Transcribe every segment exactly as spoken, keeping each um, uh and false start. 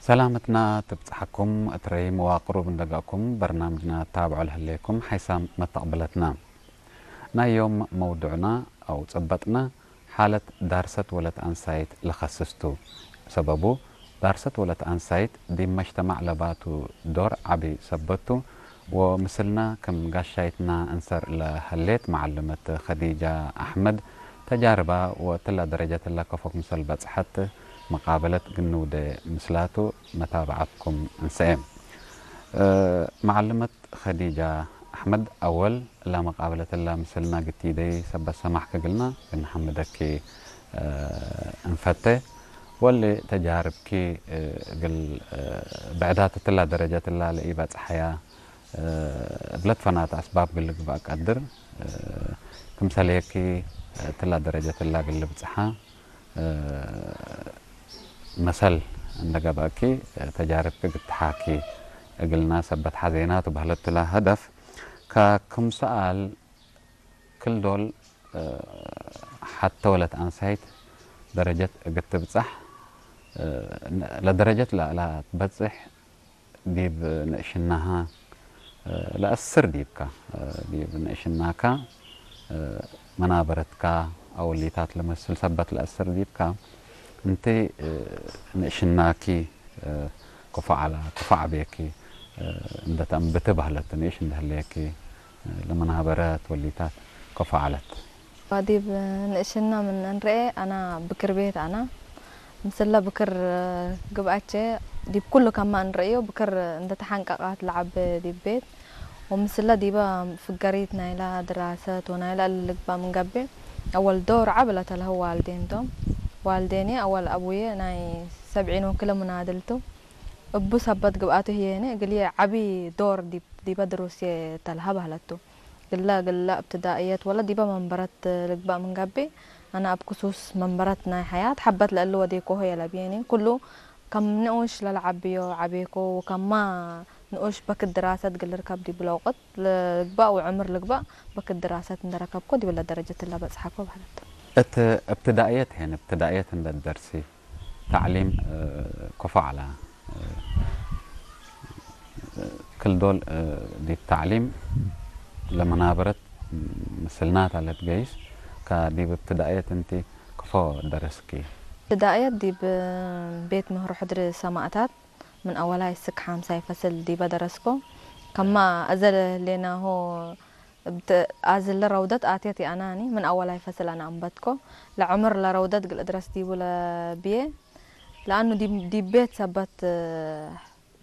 ሰላመትና ትብጽሐኩም፣ እት ረዪ መዋቅሩ ብንደጋኩም በርናምጅና ታብዖ ለህሌኩም ሓይሳም መተቅብለትና። ናይ ዮም መውዱዕና አው ጽበጥና ሓለት ዳርሰት ወለት አንሳይት ለኸስስ ቱ። ሰበቡ፣ ዳርሰት ወለት አንሳይት ዲብ መጅተማዕ ለባቱ ዶር ዐቢ ሰበት ቱ፣ ወምስልና ክም ጋሻይትና እንሰር ለህሌት መዓልመት ከዲጃ አሕመድ፣ ተጃርባ ወእትላ ደረጀት እላ ከፎ ክምሰል በጽሐት መቃበለት ግንውደ ምስላቱ መታብዐትኩም እንሰኤ። እ፣ መዓልመት ከዲጃ አሕመድ፣ አወል እላ መቃበለት እላ ምስልና ግቲደይ ሰበት ሰማሕክ እግልና ግንሐምደኪ፣ እ፣ እንፈቴ። ወሊ ተጃርብኪ፣ እ፣ እግል፣ እ፣ ብዕዳት እትላ ደረጀት እላ ለኢበጽሐያ፣ እ፣ እብለት ፈናት አስባብ እግል ልግበእ ቀድር፣ እ፣ ክምሰልየኪ፣ እ፣ እትላ ደረጀት እላ እግል ልብጽሐ፣ እ፣ መሰል እንደ ገብአኪ፣ እ፣ ተጃርብኪ እግል ትሓኪ እግልና ሰበት ሐዜናቱ በህለት ላ ሀደፍ። ከክም ሰኣል፣ ክል ዶል፣ እ፣ ሐተ ወለት አንሳይት ደረጀት እግል ትብጸሕ፣ እ፣ ለደረጀት ለአላ ትበጽሕ ዲብ ንእሽናሃ፣ እ፣ ለአስር ዲብካ፣ እ፣ ዲብ ንእሽናካ፣ እ፣ መናበረትካ አወሊታት ለመስል ሰበት ለአስር ዲብካ፣ እንቲ፣ እ፣ ንእሽናኪ፣ እ፣ ከፎ ዐላ፣ ከፎ ዐቤኪ፣ እ፣ እንደ ተአንብቲ በህለት፣ ንእሽ እንደ ህሌኪ፣ እ፣ ለመናበረት ወሊታት ከፎ ዐለት። ዲብ ንእሽና ምን እንርኤ፣ አና ብክር ቤት አና። ምስለ ብክር ግብአቼ፣ ዲብ ኩሉ ከማ እንርእዮ፣ ብክር እንዴ ተሐንቀቃት ለዐቤ ዲብ ቤት፣ ወምስለ ዲበ ፍገሪት ናይላ ድራሰት ወናይላ እሊ ልግባእ ምን ገብእ፣ አወል ዶር ዐቢ ለተልሀው ዋልዴን ቶም። ዋልዴኔ አወል አቡዬ ናይ ሰብዒን ወክለ ሙናድል ቱ። እቡ ሰበት ግብአቱ ህዬኔ እግልዬ ዐቢ ዶር ዲብ፣ ዲበ ድሩስዬ ተልሀ በህለት ቱ። ግለ፣ ግለ እብትዳእየት ወለ ዲበ መንበረት ልግበእ ምን ገብእ፣ አነ እብ ክሱስ መንበረት ናይ ሐያት ሐበት ለእሊ ወዴኮሆ የለብዬኒ። ኩሉ ከም ንኡሽ ለለዐብዮ ዐቤኮ፣ ወከማ ንኡሽ በክት ድራሰት እግል ልርከብ ዲብለ ወቅት ልግበእ ወዕምር ልግበእ በክት ድራሰት እንዴ ረከብኮ ዲብለ ደረጀት እለ በጽሐኮ በህለት። እት እብትዳእየት ሄን፣ እብትዳእየት እንዴ ደርሲ፣ ተዕሊም፣ እ፣ ከፎ ዐላ። እ፣ ክል ዶል፣ እ፣ ዲብ ተዕሊም ለመናበረት ምስልናታ ለትገይስ፣ ከዲብ እብትዳእየት እንቲ ከፎ ደረስኪ? እብትዳእየት ዲብ ቤት ምህሮ ሕድሪ ሰማእታት ምን አወላይ እስክ ሓምሳይ ፈስል ዲበ ደረስኮ። ከማ አዘ ለህሌናሆ እብ ተ-፣ አዝለ ረውደት አትየት ይአናኒ፣ ምን አወላይ ፈስል አነ አንበትኮ። ለዕምር ለረውደት እግል እድረስ ዲቡ ለብዬ፣ ለአኑ ዲብ፣ ዲብ ቤት ሰበት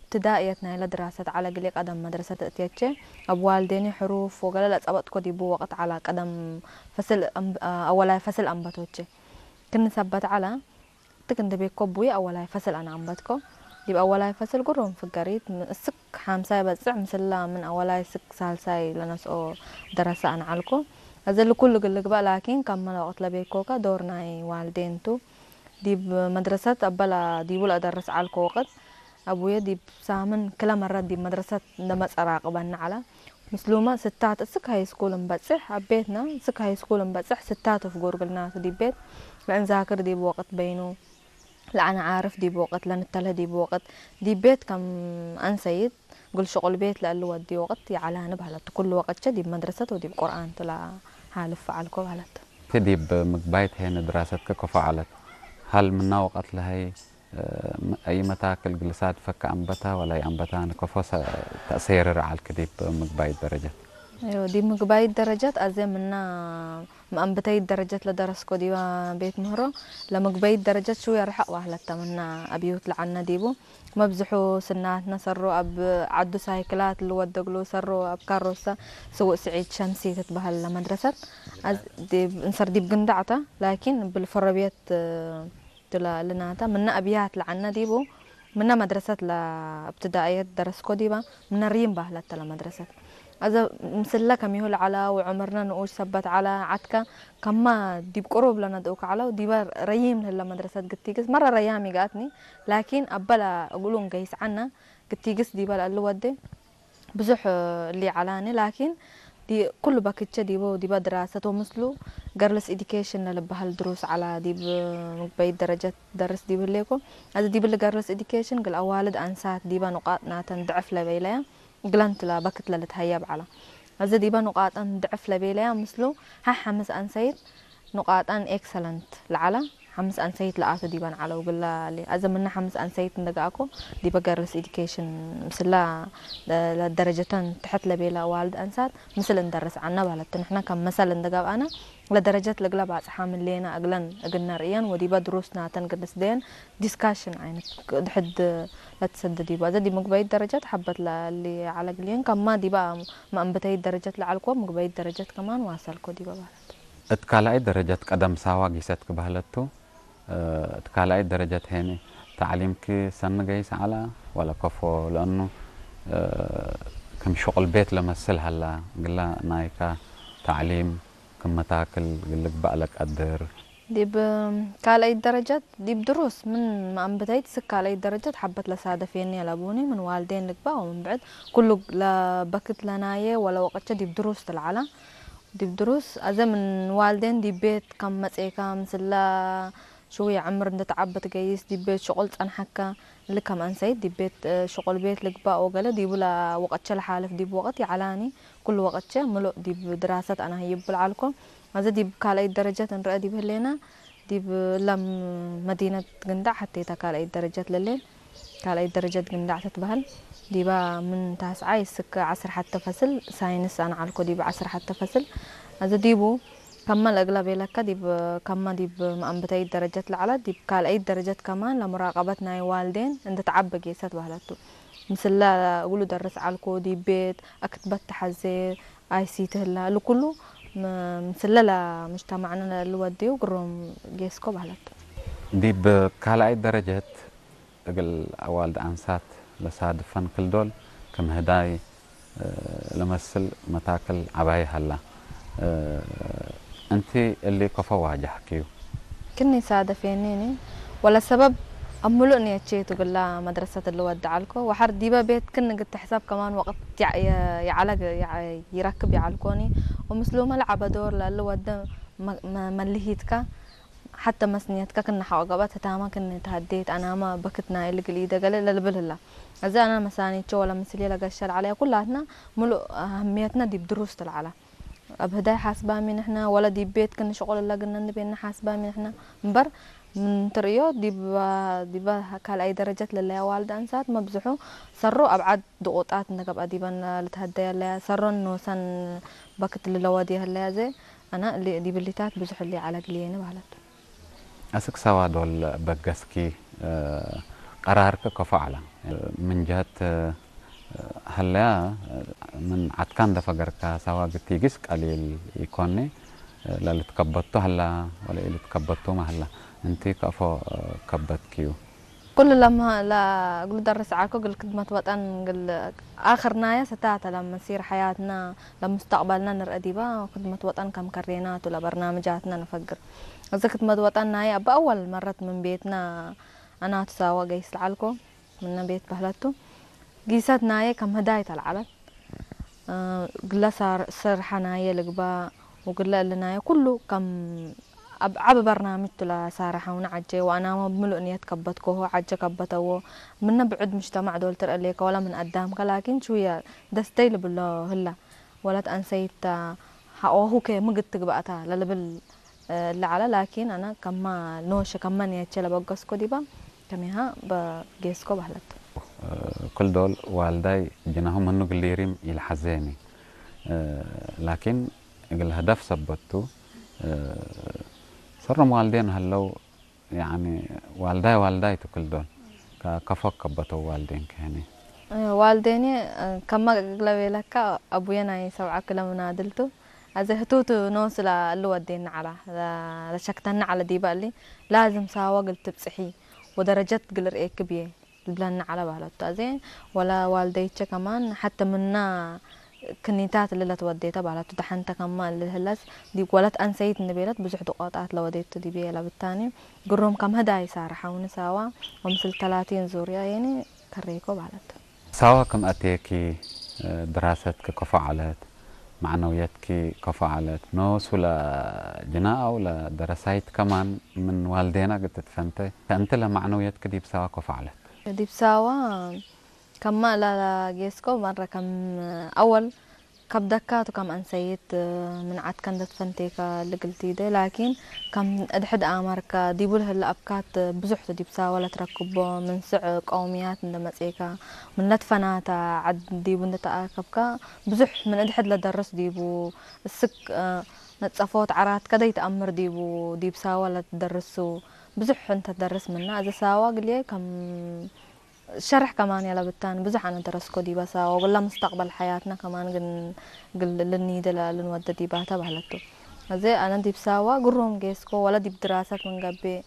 እብትዳእየት ናይለ ድራሰት ዐለ እግልዬ ቀደም መድረሰት እትየቼ። እብ ዋልዴኒ ሕሩፍ ወገሌ ለጸበጥኮ ዲቡ ወቅት ዐላ ቀደም ፈስል አም-፣ አወላይ ፈስል አንበቶቼ። ክኒ ሰበት ዐለ። ትክ እንዴ ቤኮ እቡይ አወላይ ፈስል አነ አንበትኮ። ዲብ አወላይ ፈስል ግሩም ፍገሪት ምን እስክ ሓምሳይ በጽሕ ምስላ ምን አወላይ እስክ ሳልሳይ ለነስኦ ደረሰ አነ ዐልኮ። አዜ እሊ ኩሉ እግል ልግበእ ላኪን ከመ ለወቅት ለቤኮከ ዶር ናይ ዋልዴን ቱ። ዲብ መድረሰት አበ ዲቡ ለአደርስ ዐልኮ ወቅት አቡዬ ዲብ ሳምን ክለ መረት ዲብ መድረሰት እንዴ መጽአ ራቅበነ ዐለ። ምስሉመ ስታት እስክ ሃይስኩል እንበጽሕ፣ አቤትነ እስክ ሃይስኩል እንበጽሕ ስታት ፍጉር እግልናቱ ዲብ ቤት ለእንዛክር ዲብ ወቅት በይኑ፣ ለአነ ዓርፍ ዲብ ወቅት ለንተልህ ዲብ ወቅት ዲብ ቤት ከም አንሰይት እግል ሽቁል ቤት ለእሊ ወዲ ወቅት ይዐላኒ በህለት። ኩሉ ወቅቼ ዲብ መድረሰት ወዲብ ቁርአን ቱ ለሓልፍ ዐልኮ በህለት። ዲብ ምግባይት ሄነ ድራሰትከ ከፎ ዐለት። ሀል ምና ወቀት ለሀይ፣ እ፣ አይ መታክል ግልሳት ፈከ አንበታ ወላይ አንበታን ከፎ ሰ-፣ ተአሰይርር ዐልክ ዲብ ምግባይት ደረጀት? እዮ፣ ዲብ ምግባይት ደረጀት አዜ ምና መአንብተይት ደረጀት ለደረስኮ ዲበ ቤት ምህሮ ለምግበይት ደረጀት ሽውየ ርሕቅ በህለተ ምና አብዩት ለዐልነ ዲቡ። መብዝሑ ስናትነ ሰሮ አብ ዐዱ ሳይክላት ልወደግሉ ሰሮ አብ ካሮሰ ስውእ ስዒድ ሸምሲ ትትበሀል ለመድረሰት። አዝ-፣ ዲብ፣ እንሰር ዲብ ግንዳዕ ተ፣ ላኪን እብል ፈረብየት ቱ ለልናተ። ምነ አብያት ለዐልነ ዲቡ፣ ምነ መድረሰት ለእብትዳእየት ደረስኮ ዲበ፣ ምነ ሪም በህለት ተ ለመድረሰት። አዘ ምስለ ከሚሁ ለዐለ ወዕምርነ ንኡሽ ሰበት ዐለ፣ ዐድከ ከማ ዲብ ቅሩብ ለነድኡከ ዐለው፣ ዲበ ረዪም ለህለ መድረሰት ግቲግስ፣ መረ ረያም ኢገአትኒ፣ ላኪን አበ ለእግሉ እንገይስ ዐነ፣ ግቲግስ ዲበ ለእሊ ወዴ ብዙሕ እሊ ዐላኒ፣ ላኪን ዲ-፣ ኩሉ በክቼ ዲበ ወዲበ ድራሰት ወምስሉ ገርልስ ኤዲኬሽን ለልበሀል ድሩስ ዐላ። ዲብ ምግበይት ደረጀት ደርስ ዲብ ህሌኮ። አዜ ዲብሊ ገርልስ ኤዲኬሽን እግል አዋልድ አንሳት ዲበ ኑቃጥ ናተን ድዕፍ ለቤለያ እግለን ትላ በክት ለልትሀየብ ዐላ። አዜ ዲበ ኑቃጠን ድዕፍ ለቤለያ ምስሉ ሐ ሐምስ አንሰይት ኑቃጠን ኤክሰለንት ለዐለ፣ ሐምስ አንሰይት ለአቱ ዲበን ዐለው እግለ። አዜ ምነ ሐምስ አንሰይት እንደ ገአኮ፣ ዲበ ገርልስ ኤዲኬሽን ምስላ ለ-፣ ለደረጀተን ተሐት ለቤለ አዋልድ አንሳት ምስል እንደርስ ዐነ በህለት ቱ። ንሕነ ከም መሰል እንደ ገብአነ፣ ለደረጀት ለእግለ ባጽሓ ምን ሌነ እግለን እግል ነርእየን ወዲበ ድሩስ ናተን እግል ልስደየን ዲስካሽን አይነት ድሕድ ለትሰደ ዲቡ። አዜ ዲብ ምግበይት ደረጀት ሐበት ለእሊ ዐለ እግልየን ከማ ዲበ መአንብተይት ደረጀት ለዐልኮ ምግበይት ደረጀት ከማን ዋሰልኮ ዲበ በህለት። እት ካልኣይት ደረጀት ቀደም ሳዋ ጊሰት ክበህለት ቱ። እት ካልኣይት ደረጀት ሄኒ ተዕሊምኪ ሰኒ ገይስ ዐላ ወለ ከፎ? ለእኑ ክም ሽቁል ቤት ለመስል ሀላ፣ እግለ ናይካ ተዕሊም ክም መታክል እግል ልግባእ ለቀድር። ዲብ ካልኣይት ደረጀት ዲብ ድሩስ ምን መአንብተይት እስክ ካልኣይት ደረጀት ሐበት ለሳደፌኒ አለቡኒ ምን ዋልዴን ልግባእ ወምን ብዕድ ኩሉ ለበክት ለናየ ወለ ወቀቼ ዲብ ድሩስ ትልዓላ። ዲብ ድሩስ አዜ ምን ዋልዴን ዲብ ቤት ከም መጽኤካ ምስለ ሽውየ ዕምር እንዴ ተዐበ ትገይስ ዲብ ቤት ሽቁል ጸንሐከ። እሊ ከም አንሰይት ዲብ ቤት ሽቁል ቤት ልግባእ ወገሌ ዲቡ ለወቀቼ ለሓልፍ ዲብ ወቅት ይዐላኒ። ኩሉ ወቀቼ ምሉእ ዲብ ድራሰት አነ ህይቡ ለዐልኮ። አዜ ዲብ ካልአይት ደረጀት እንረአ ዲብ ህሌነ ዲብ እለ መዲነት ግንዳዕ ሐቴተ ካልአይት ደረጀት ለሌን። ካልአይት ደረጀት ግንዳዕ ትትበህል። ዲበ ምን ታስዓይ እስክ ዐስር ሐቴ ፈስል ሳይንስ አነ ዐልኮ ዲብ ዐስር ሐቴ ፈስል። አዜ ዲቡ ከመ ለእግለ ቤለከ ዲብ ከመ ዲብ መአንብተይት ደረጀት ለዐለ ዲብ ካልአይት ደረጀት ከማን ለሙራቀበት ናይ ዋልዴን እንዴ ተዐበ ጌሰት በህለት ቱ። ምስለ እግሉ ደርስ ዐልኮ ዲብ ቤት አክትበት ተሐዜ አይሲቲ ህላ። እሊ ኩሉ ም-፣ ምስለ ለሙጅተማዕነ ለልወድዩ ግሮም ጌስኮ በህለት ቱ። ዲብ ካልአይት ደረጀት እግል አዋልድ አንሳት ለሳድፈን ክል ዶል ክም ህዳይ ለመስል መታክል ዐባይ ሀላ። እንቲ እሊ ከፎ ዋጀሕክዩ? ክኒ ሳደፌኒኒ ወለ ሰበብ አምሉእ ንየቼ ቱ እግላ መድረሰት እሊ ወድ ዐልኮ። ወሐር ዲበ ቤት ክን እግል ትሕሰብ ከማን ወቅት ይዐ-፣ ይዐለ፣ ይዐ-፣ ይረክብ ይዐልኮኒ። ወምስሉመ ለዐበ ዶር ለእሊ ወደ መ-፣ መ-፣ መልሂትከ ሐተ መስንየትከ ክነ ሐቆ ገብአት ህታመ ክነ ተሀዴት አናመ በክት ናይ እሊ እግል ኢደ ገሌ ለልብል ህላ። አዜ አነ መሳኒቾ ወለ ምስልዬ ለገሸ ለዐለየ ኩላትነ ምሉእ አህምየትነ ዲብ ድሩስ ቱ ለዐለ። እብ ህዳይ ሓስባሚ ንሕነ ወለ ዲብ ቤት ክን ሽቁል እለ ግነኒ ቤነ ሓስባሚ ንሕነ። እምበር ምን ትርእዮ ዲብ፣ ዲበ ካልኣይ ደረጀት ለለየ ዋልድ አንሳት መብዝሑ ሰሩ አብዓድ ድቁጣት እንደ ገብአ ዲበን ልትሀደየ ለያ ሰሮን ኖሰን በክት ልለወድየ ህለያ ዘ አነ እሊ ዲብ እሊታት ብዙሕ እሊ ዐለ እግልዬ በህለት። አስክ ሰዋ ዶል በገስኪ፣ እ፣ ቀራርክ ከፎ ዐለ። ምን ጀህት፣ እ፣ ሀለያ፣ ምን ዐድካ እንደ ፈገርካ ሰዋ ግቲጊስ ቀሊል ኢኮኒ፣ ለልትከበቱ ሀላ ወለ ኢልትከበቱመ ሀላ። እንቲ ከፎ፣ እ፣ ከበትክዩ? ኩሉ ለመ-፣ ለእግሉ ደርስ ዐልኮ እግል ክድመት ወጠን እግል አክር ናየ ስታተ ለመሲር ሐያትና ለሙስተቅበልና ንርአ ዲበ ክድመት ወጠን ከም ከሬናቱ ለበርናምጃትና ንፈግር። እዚ ክድመት ወጠን ናየ እበ አወል መረት ምን ቤትና አናቱ ሳወ ገይስ ለዐልኮ ምነ ቤት በህለቱ። ጊሰት ናየ ከም ህዳይ ተልዓለት። እግለ ሳር-፣ ስርሐ ናየ ልግባእ ወእግለ እሊ ናየ ኩሉ ከም አብ-፣ ዐቢ በርናምጅ ቱ ለሳረሐውነ ዐጀ ወአናመ ብምሉእ ንየት ከበትኮሆ ዐጀ ከበተዎ። ምነ ብዕድ ሙጅተማዕ ዶል ትርአ ሌከ ወለ ምን አዳምከ ላኪን ሽውየ ደስተይ ልብሎ ህለ። ወለት አንሰይት ሐቆሁከ ምግድ ትግባእታ ለልብል እለ ዐለ። ላኪን አነ ከማ ኖሸ ከማ ንየቼ ለበገስኮ ዲባ ከሜሃ በጌስኮ በህለት። ክል ዶል ዋልዳይ ጅናሁ ምኑ ግሊሪም ኢልሐዜኒ። ላኪን እግል ሀደፍ ሰበት ቱ፣ ሰሮም ዋልዴን ሀለው፣ ያኒ ዋልዳይ ዋልዳይ ቱ ክል ዶል። ከ-፣ ከፎ ከበተው ዋልዴን ከህኔ። ዋልዴኒ ከማ እግለ ቤለካ አቡየ ናይ ሰብዓ ክለ ምናድል ቱ። አዜ ህቱቱ ኖስ ለእሊ ወዴኒ ዐላ፣ ለ-፣ ለሸክተኒ ዐለ ዲበ እሊ ላዝም ሳወ እግል ትብጽሒ ወደረጀት እግል ርኤኪ ብዬ ልብለኒ ዐለ በህለቱ። አዜ ወለ ዋልደይቼ ከማን ሐተ ምና ክኒታት እሊ ለትወዴተ በህለቱ። ደሐንተ ከማ እሊ ህለስ ዲብ ወለት አንሰይት እንቤለት ብዙሕ ድቆጣት ለወዴቱ ዲብዬ ለብታኒ ግሩም ከም ህዳይ ሳርሐውኒ ሳዋ ወምስል ተላቲን ዙርያ የኒ ከሬኮ በህለቱ። ሳዋ ክም አቴኪ፣ ድራሰትኪ ከፎ ዐለት፣ መዕነውየትኪ ከፎ ዐለት። ኖሱ ለጅና አው ለደረሳይት ከማን ምን ዋልዴና እግል ትትፈንተ፣ ከእንቲ ለመዕነውየትኪ ዲብ ሳዋ ከፎ ዐለት። ዲብ ሳዋ ከማ ለጌስኮ መረ ከም አወል ከብደካቱ ከም አንሰይት ምን ዐድከ እንደ ትፈንቴከ ልግል ቲደ፣ ላኪን ከም እድሕድ አመርከ ዲቡ ለህለ አብካት ብዙሕ ቱ ዲብ ሳዋ ለትረክቦ። ምን ስዕ ቀውምያት እንደ መጽኤከ፣ ምን ለትፈናተ ዐድ ዲቡ እንደ ተአከብከ፣ ብዙሕ ምን እድሕድ ለደርስ ዲቡ እስክ ነጸፎት ዐራት ከደይ ተአምር ዲቡ፣ ዲብ ሳዋ ለትደርሱ ብዙሕ እንተ ትደርስ ምነ። አዜ ሳዋ ግልዬ ከም ሸርሕ ከማን ያለብታን ብዙሕ አነ ደረስኮ ዲበ ሳዋ፣ ወግላ ሙስተቅበል ሐያትና ከማን ግን ግል ልንይደ ለልንወደ ዲባተ በህለቱ። አዜ አነ ዲብ ሳዋ ግሩም ጌስኮ፣ ወለ ዲብ ድራሰት ምን ገብእ፣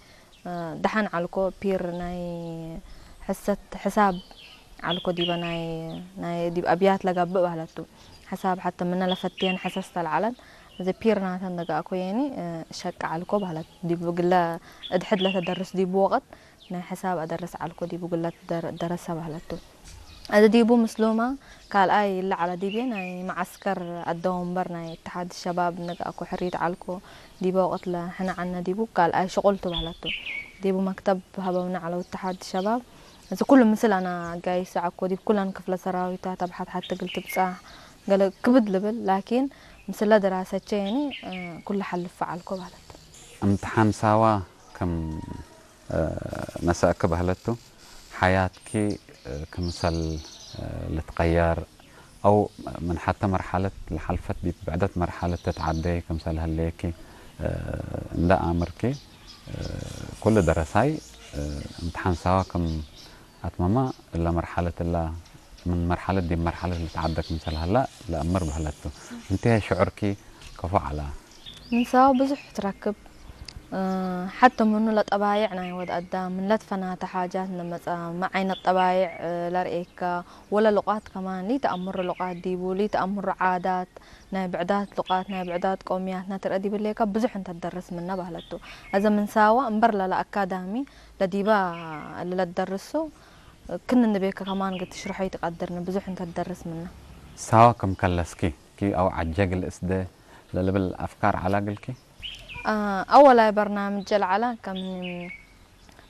እ፣ ደሐን ዐልኮ። ፒር ናይ ሕሰት ሕሳብ ዐልኮ ዲበ ናይ፣ ናይ ዲብ አብያት ለገብእ በህለቱ። ሕሳብ ሐተ ምነ ለፈትየን ሕሰስ ተለዐለን። አዜ ፒር ናተን ደጋእኮ የኒ፣ እ፣ ሸቅ ዐልኮ በህለት። ዲብ ግለ እድሕድ ለተደርስ ዲቡ ወቅት ናይ ሕሳብ አደርስ ዐልኮ ዲቡ ግለት ደር-፣ ደረሰ በህለቱ። አዜ ዲቡ ምስሉማ ካልኣይ እለ ዐለ ዲብዬ ናይ መዐስከር አደወንበር ናይ እትሓድ ሸባብ ንግአኮ ሕሪት ዐልኮ። ዲበ ወቅት ለሕነ ዐልነ ዲቡ ካልኣይ ሽቁል ቱ በህለቱ። ዲቡ መክተብ ሀበውነ ዐለው እትሓድ ሸባብ። እዚ ኩሉ ምስል አነ አጋይሰ ዐኮ። ዲብ ኩለን ክፍለ ሰራዊታት አብ ሐት ሐት እግል ትብጻሕ ገሌ ክብድ ልብል፣ ላኪን ምስለ ድራሰቼ የኒ፣ እ፣ ኩሉ ሐልፈ ዐልኮ በህለቱ። እምትሓን ሳዋ ክም ነሰአክ በህለቱ፣ ሐያትኪ ክምሰል ልትቀየር አው ምን ሐተ መርሐለት ለሐልፈት ዲብ ብዕደት መርሐለት ትትዓደይ ክምሰል ህሌኪ እንደ አምርኪ፣ ኩሉ ደረሳይ እምትሓን ሳዋ ክም አትመመ እለ መርሐለት እለ ምን መርሐለት ዲብ መርሐለት ልትዓደ ክምሰል ሀላ ለአምር በህለቱ። እንቴ ሽዑርኪ ከፎ ዐላ? ምን ሳዋ ብዙሕ ትረክብ። እ፣ ሐተ ምኑ ለጠባይዕ ናይ ወድ አዳም ምን ለትፈናተ ሓጃት እንደ መጽአ፣ ሚ ዓይነት ጠባይዕ፣ እ፣ ለርኤካ፣ ወለ ሉቃት ከማን፣ ሊተአምሩ ሉቃት ዲቡ፣ ሊተአምሩ ዓዳት፣ ናይ ብዕዳት ሉቃት፣ ናይ ብዕዳት ቀውምያትና ትርአ ዲብ ህሌካ፣ ብዙሕ እንተ ትደርስ ምነ በህለቱ። አዜ ምን ሳዋ እምበር ለለ አካዳሚ ለዲባ እለ ለትደርሱ፣ ክን እንቤከ ከማን እግል ትሽርሖ ኢትቀድርኒ፣ ብዙሕ እንተ ትደርስ ምነ። ሳዋ ክም ከለስኪ፣ ኪ አው ዐጀ እግል እስደ ለልብል አፍካር ዐላ እግልኪ? አ፣ አወላይ በርናምጀ ለዐላ ከም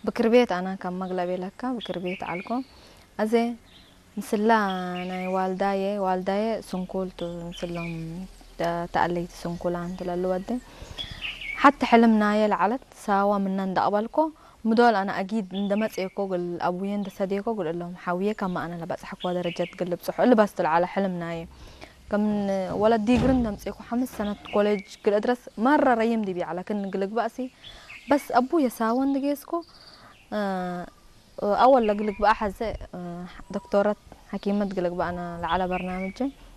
ብክር ቤት አነ ከም መግለቤ ለከ ብክር ቤት ዐልኮ። አዜ ምስላ ናይ ዋልዳዬ፣ ዋልዳዬ ስንኩል ቱ፣ ምስሎም ተ-፣ ተአለይቲ ስንኩላን ቱ ለልወዴ። ሐቲ ሕልም ናዬ ለዐለት ሳዋ ምነ እንደ አቅበልኮ፣ ምዶል አነ አጊድ እንደ መጽኤኮ እግል አቡዬ እንደ ሰዴኮ እግል እሎም ሐውዬ ከመ አነ ለበጽሐኮ ደረጀት እግል ልብጽሖ እሊ በስ ቱ ለዐለ ሕልም ናዬ። ከም ወለት ዲግሪ እንደ ምጽእኮ ሐምስ ሰነት ኮሌጅ እግል እድረስ መረ ረይም ዲብዬ ዐለ። ክን እግል እግበእ ሲ በስ አቡዬ ሳወ እንደ ጌስኮ፣ እ፣ አወል ለእግል እግበእ ሐዘ፣ እ፣ ዶክቶረት ሐኪመት እግል እግበእ አነ ለዐለ በርናምጅ